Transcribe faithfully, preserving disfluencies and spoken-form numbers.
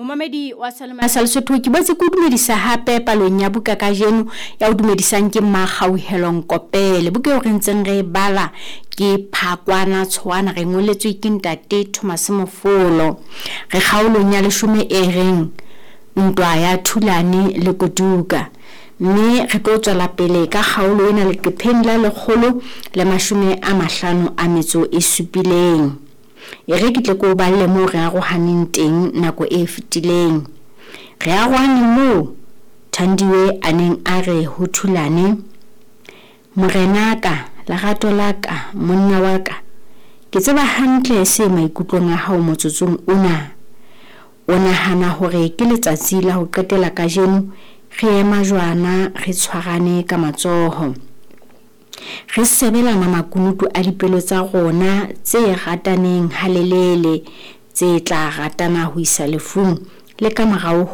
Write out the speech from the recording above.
Momamedi wa Salema sa Lesotho, ke boetse ke o dumedisa hape palong ya buka kajeno. Ya o dumedisang ke Mmakgauhelo Nkopele. Buka eo re ntseng re e bala ke Phakwana Tshoana, re ngoletswe ke ntate Thomas Mofolo. Re kgaolong ya leshome e reng Ntwa ya Thulane le Koduka, mme re tlo tswela pele ka kgaolo ena leqepheng la lekgolo le mashome a mahlano a metso e supileng. E re ke tle ke o balle moo re arohaneng teng nako e fetileng. Re arohane moo Thandiwe a neng a re ho Thulane, Morenaka, lerato la ka, monna wa ka, ke tseba hantle se maikutlong a hao motsotsong ona. O nahana hore ke letsatsi la ho qetela kajeno re ema jwana re tshwarane ka matsoho, re sebelana makunutu a dipelo tsa rona tse rataneng halelele, tse tla ratana ho isa lefung le ka morao ho